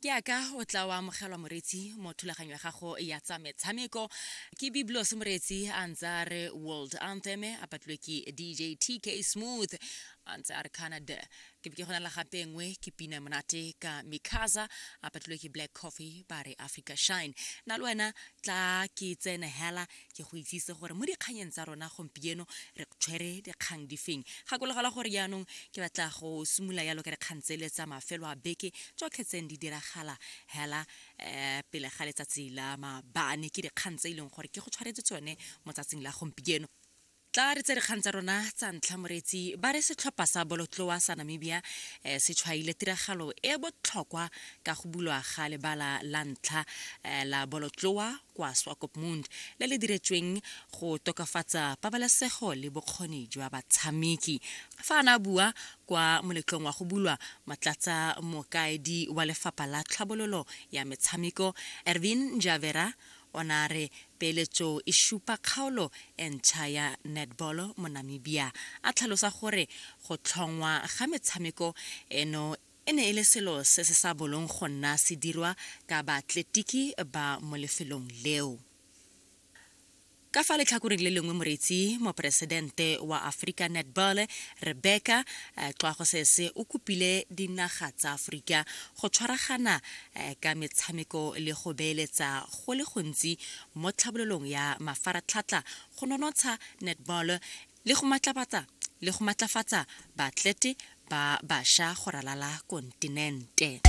Ke aka o tla o amogelwa moreetsi mo thulaganyo ya gago ya tsa metshameko. Ke Biblos moreetsi a ntse a re World Anthem a patlilwe ke DJ TK Smooth a ntse a re Canada. Ke be ke go na le gape nngwe ke pina monate ka Mikaza a patlilwe ke Black Coffee ba re Africa Shine. Na le wena tla ke tsene hela ke go itsise gore mo dikganyeng tsa rona gompieno re tshwere dikgang di feng. Gakologelwa gore jaanong ke batla go simolola yalo ka dikgang tsele tsa mafelo a beke tsotlhe tseng di diragala hela um pele ga letsatsi la maabane ke dikgang tse e leng gore ke go tshwaretse tsone mo tsatsing la gompieno. Tla re tse dikgang tsa rona tsa ntlha moreetsi ba re setlhopha sa bolotloa sa Namibia eh, se tshwaile tiragalo e botlhokwa ka go bulwa ga lebala la ntlha eh, la bolotloa kwa Swakopmund le le diretsweng go tokafatsa pabalesego le bokgoni jwa batshameki. Fa a ne a bua kwa moletlong wa go bulwa, motlatsa mokaedi wa lefapha la tlhabololo ya metshameko Ervin Njavera o ne a re peeletso e supa kgaolo e ntšha ya netball mo Namibia, a tlhalosa gore go tlhongwa ga metshameko eno E ne e le selo se se sa bolong go nna se dirwa ka baatletiki ba mo lefelong leo. Ka fa letlhakoreng le lengwe moreetsi, moporesidente wa Africa Netball, Rebecca Xwagosese o kopile dinaga tsa Aforika go tshwaragana ka metshameko le go beeletsa go le gontsi mo tlhabololong ya mafaratlhatlha go nonotsha netball le go matlafatsa le go matlafatsa baatlete ba basha go ralala kontinente.